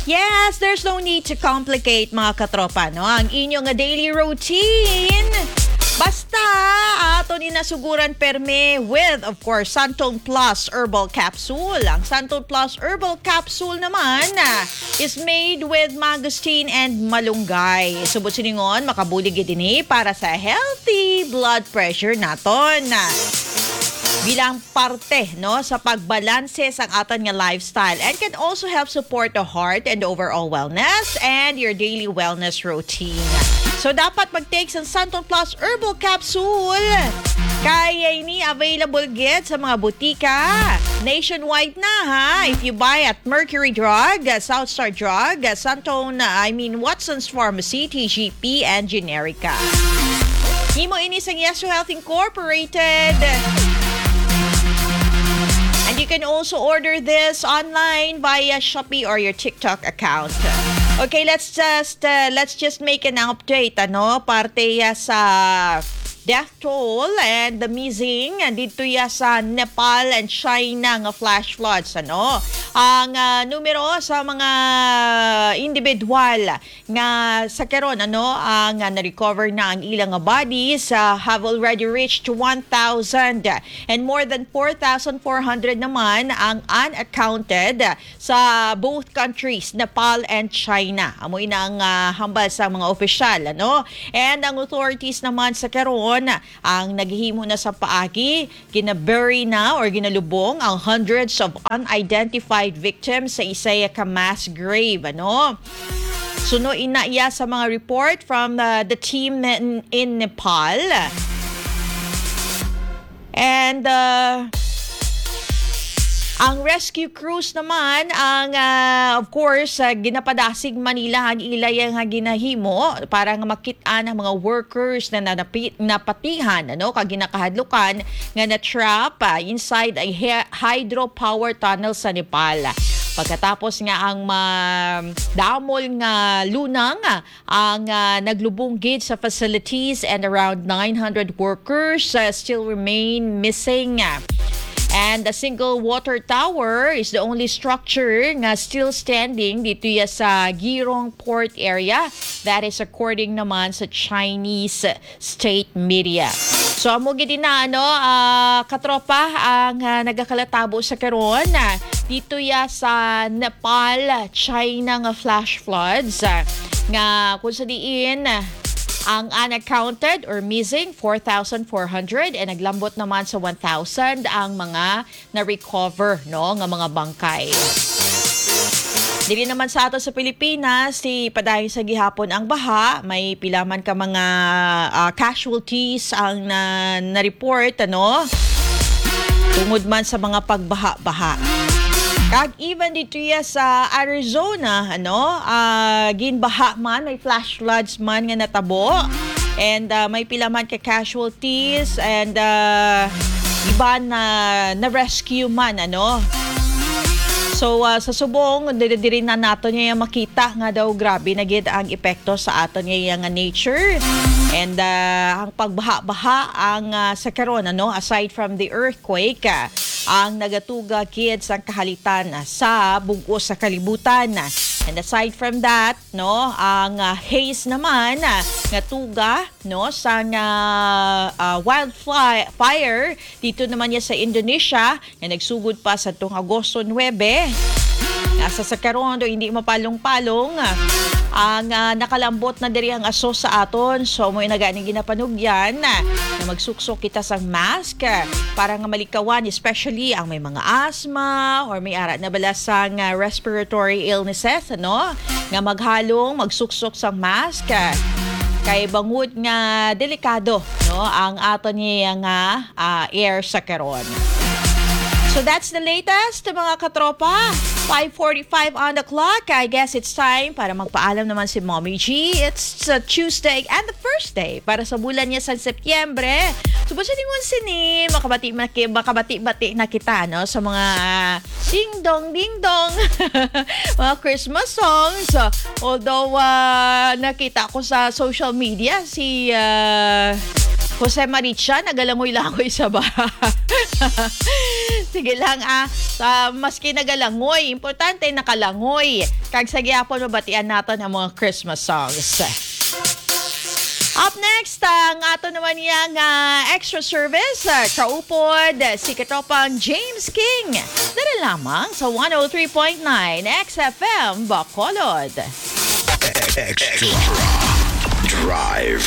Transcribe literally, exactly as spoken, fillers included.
Yes, there's no need to complicate, mga katropa, no? Ang inyo nga daily routine. Basta, aton inasuguran perme with, of course, Santon Plus Herbal Capsule. Ang Santon Plus Herbal Capsule naman ah, is made with mangosteen and malunggay. Subot siningon, makabulig gid ini para sa healthy blood pressure naton. Bilang parte, no, sa pagbalanse sang aton nga lifestyle and can also help support the heart and overall wellness and your daily wellness routine. So, dapat mag-take sang Santon Plus Herbal Capsule. Kaya ini available gid sa mga butika nationwide na, ha. If you buy at Mercury Drug, uh, South Star Drug, uh, Santon, uh, I mean, Watson's Pharmacy, T G P, and Generica. Himo ini sang Yes to Health Incorporated. And you can also order this online via Shopee or your TikTok account. Okay, let's just uh, let's just make an update, ano, parte ya sa death toll and the missing dito ya sa Nepal and China nga flash floods, ano. Ang ah, numero sa mga individual nga sa karon, ano, ang ah, na-recover na ang ilang nga bodies ah, have already reached one thousand, and more than four thousand four hundred naman ang unaccounted sa both countries, Nepal and China. Amo ina ang ah, hambal sa mga opisyal, ano? And ang authorities naman sa karon ang naghimo na sa paagi, ginabury na or ginalubong ang hundreds of unidentified victims sa isa ka mass grave, ano? Suno ina iya sa mga report from uh, the team in, in Nepal. And uh, ang rescue crews naman ang uh, of course uh, ginapadasig Manila ang ilay nga ginahimo para nga makit-an ang mga workers na nanapi- napatihan, ano, kag ginakahadlukan nga na-trap uh, inside a hy- hydropower tunnel sa Nepal. Pagkatapos nga ang ma- damol nga lunang ang ah, naglubong gid sa facilities and around nine hundred workers ah, still remain missing. And a single water tower is the only structure nga still standing dito ya sa Girong Port area. That is according naman sa Chinese state media. So amo gid na, ano, ah, katropa, ang ah, nagakalatabo sa karon ah, dito ya sa Nepal, China nga flash floods ah, nga kung sa diin ah, ang unaccounted or missing four thousand four hundred and naglambot naman sa one thousand ang mga na-recover, no, nga mga bangkay. Diri naman sa ato sa Pilipinas, si padayon sa gihapon ang baha, may pila man ka mga ah, casualties ang na, na-report, ano, tungod man sa mga pagbaha-baha. Kag even dito ya sa Arizona, ano, ah, ginbaha man, may flash floods man nga natabo. And ah, may pila man ka casualties and ah, iban na na-rescue man, ano. So ah, sa subong, diri, diri na nato niya makita nga daw grabe na gid ang epekto sa aton niya nga nature. And ah, ang pagbaha-baha ang ah, sa karon, ano, aside from the earthquake, ah, ang nagatuga gid sang kahalitan sa bug-os sa kalibutan. And aside from that, no, ang ah, haze naman ah, nga tuga, no, sang ah, ah, wildfire dito naman niya sa Indonesia nga nagsugod pa sa tong Agosto nuebe. Nasa sa karon do hindi mapalong-palong ang ah, nakalambot na diri ang aso sa aton. So mo na gani ginapanugyan na magsuksok kita sang mask para nga malikawan, especially ang may mga asthma or may ara na bala sang ah, respiratory illnesses, ano, nga maghalong magsuksok sang mask kay bangod nga delikado, no, ang aton niya nga ah, air sa karon. So that's the latest, mga katropa. Five forty-five on the clock. I guess it's time para magpaalam naman si Mommy G. It's a Tuesday and the first day para sa bulan niya sa Setyembre. So, basta ningon sini, makabati, maki- makabati-bati na kita, no? Sa mga ding-dong, ding-dong. Mga Christmas songs. Although, ah, nakita ko sa social media, si ah, Jose Maricha, nagalangoy-langoy sa baha. Sige lang, ah. Ah, maski nagalangoy, importante nakalangoy. Kag sa gihapon, mabatian naton ang mga Christmas songs. Up next, ang ato naman niya nga extra service, ah, kaupod, si Katropang James King. Dala lamang sa one oh three point nine X F M Bacolod. Extra Drive.